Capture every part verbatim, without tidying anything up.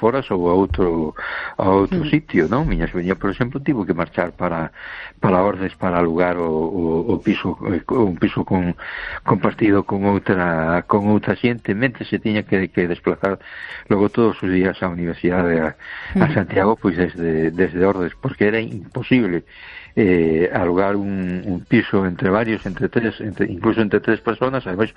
foras ou a outro a outro mm. sitio, non? Miña sobriña, por exemplo, tivo que marchar para para Ordes para alugar o, o, o piso, un piso con compartido con outra con outra xente, mentre se tiña que, que desplazar logo todos os días á universidade a, a Santiago, pois desde desde Ordes, porque era imposible eh, alugar un, un piso entre varios, entre tres, entre, incluso entre tres personas, además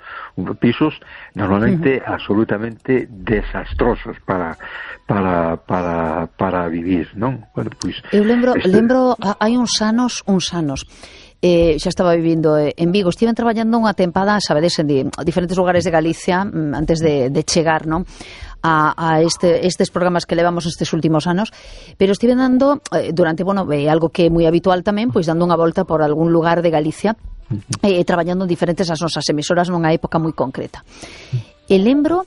pisos normalmente uh-huh. absolutamente desastrosos para para para para vivir, non? Bueno, pois eu lembro, este... lembro hai uns anos, uns anos Eh, xa estaba vivindo en Vigo, estiven traballando unha tempada, sabedes, en di, diferentes lugares de Galicia antes de, de chegar, non? A, a este, estes programas que levamos estes últimos anos, pero estive dando eh, durante, bueno, eh, algo que é moi habitual tamén, pois dando unha volta por algún lugar de Galicia, eh, traballando en diferentes as nosas emisoras nunha época moi concreta. E lembro,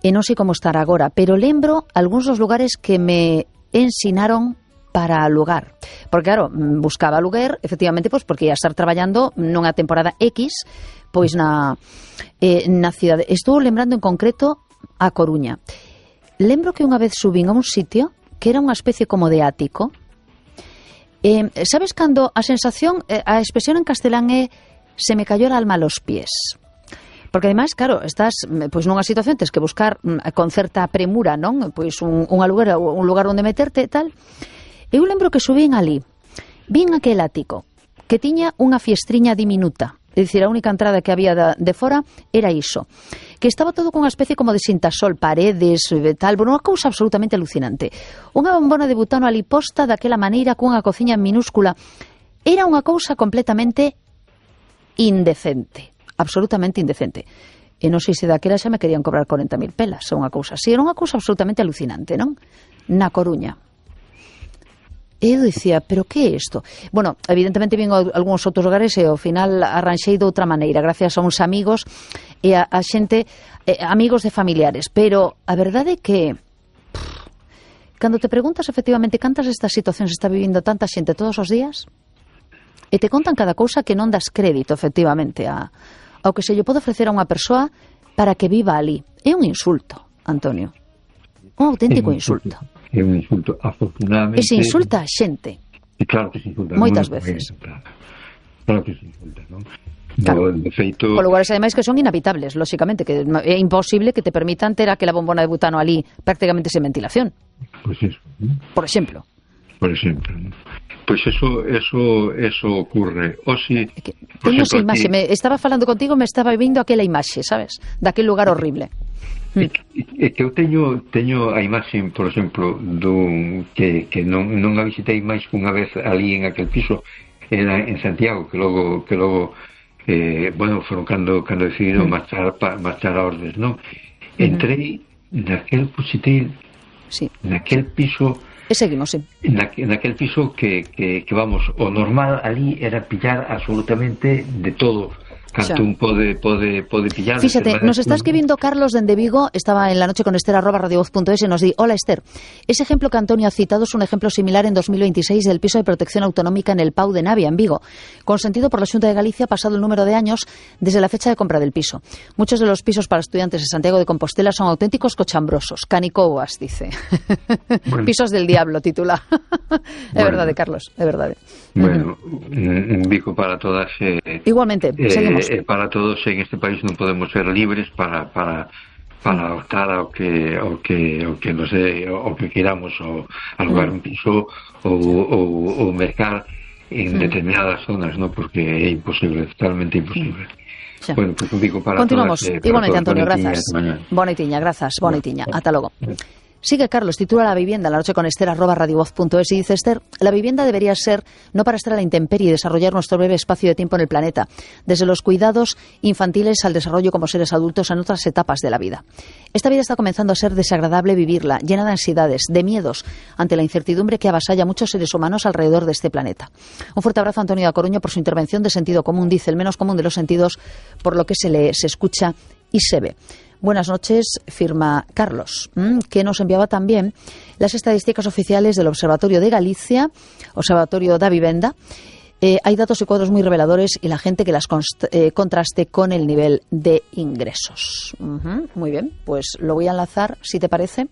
e non sei como estar agora, pero lembro algúns dos lugares que me ensinaron para alugar, porque claro, buscaba aluguer efectivamente, pois porque ia estar traballando nunha temporada X, pois na eh, na cidade. Estou lembrando en concreto a Coruña. Lembro que unha vez subín a un sitio que era unha especie como de ático. Eh, sabes cando a sensación, eh, a expresión en castelán é se me cayó el alma a los pies. Porque ademais, claro, estás pois nunha situación, tens que buscar con certa premura, non? Pois un, un aluguer, un lugar onde meterte e tal. Eu lembro que subín ali, vin aquel ático, que tiña unha fiestriña diminuta, é dicir, a única entrada que había de, de fora era iso, que estaba todo con unha especie como de sintasol, paredes, tal, bueno, unha cousa absolutamente alucinante. Unha bombona de butano ali posta daquela maneira, cunha cociña minúscula, era unha cousa completamente indecente, absolutamente indecente. E non sei se daquela xa me querían cobrar corenta mil pelas, ou unha cousa así, era unha cousa absolutamente alucinante, non? Na Coruña. E eu dicía, pero que é isto? Bueno, evidentemente vin algúns outros lugares e ao final arranxei de outra maneira, gracias a uns amigos e a, a xente, eh, amigos de familiares, pero a verdade é que pff, cando te preguntas efectivamente cantas destas situacións está vivindo tanta xente todos os días e te contan cada cousa que non das crédito efectivamente a, ao que se lle pode ofrecer a unha persoa para que viva ali. É un insulto, Antonio, un auténtico insulto. É un insulto, afortunadamente. E se insulta a xente. E claro que se insulta. Moitas veces. Claro. claro que se insulta, non? Claro. No, de feito... Por lugares, ademais, que son inhabitables, lóxicamente, que é imposible que te permitan ter aquela bombona de butano ali prácticamente sen ventilación. Pois pues eso. ¿no? Por exemplo. Por exemplo, ¿no? Pois pues eso, eso, eso ocurre. O si... Teño esa imaxe, me estaba falando contigo, me estaba vindo aquela imaxe, sabes? Daquel lugar horrible. É que eu teño teño a imaxe, por exemplo, dun que, que non, non a visitei máis unha vez ali en aquel piso, era en Santiago, que logo que logo eh, bueno, foron cando cando decidiron mm. marchar pa, marchar a Ordes, non? Entrei mm. naquel puxitil, sí. naquel piso. E seguimos, sí. Na, naquel piso que, que, que vamos, o normal ali era pillar absolutamente de todo. Cantún pode, pode, pode pillar. Fíxate, nos está escribindo Carlos dende Vigo, estaba en la noche con Esther arroba radiovoz punto es e nos di, hola Esther, ese ejemplo que Antonio ha citado es un ejemplo similar en dos mil veintiséis del piso de protección autonómica en el Pau de Navia, en Vigo, consentido por la Xunta de Galicia pasado el número de años desde la fecha de compra del piso. Muchos de los pisos para estudiantes de Santiago de Compostela son auténticos cochambrosos, canicouas, dice. Bueno. Pisos del diablo, titula. É bueno. Verdade, Carlos, é verdade. Bueno, un bico para todas. Eh, Igualmente, eh, seguimos. Eh, para todos en este país non podemos ser libres para para para optar ao que ao que ao que nos dé, ao que queramos, ou alugar un piso ou ou ou mercar en mm. determinadas zonas, ¿no? Porque é imposible, totalmente imposible. Xa. Bueno, pues un bico para Continuamos. todas. Eh, Igualmente, Antonio, grazas. Boneitiña, grazas, boneitiña. Ata logo. Sigue Carlos, titula La vivienda, la noche con Esther, arroba radiovoz punto es, y dice Esther, la vivienda debería ser no para estar a la intemperie y desarrollar nuestro breve espacio de tiempo en el planeta, desde los cuidados infantiles al desarrollo como seres adultos en otras etapas de la vida. Esta vida está comenzando a ser desagradable vivirla, llena de ansiedades, de miedos, ante la incertidumbre que avasalla a muchos seres humanos alrededor de este planeta. Un fuerte abrazo a Antonio da Coruña por su intervención de sentido común, dice, el menos común de los sentidos, por lo que se lee, se escucha y se ve. Buenas noches, firma Carlos, que nos enviaba también las estadísticas oficiales del Observatorio de Galicia, Observatorio da Vivenda. Eh, hay datos y cuadros muy reveladores y la gente que las const- eh, contraste con el nivel de ingresos. Uh-huh, muy bien, pues lo voy a enlazar, si te parece,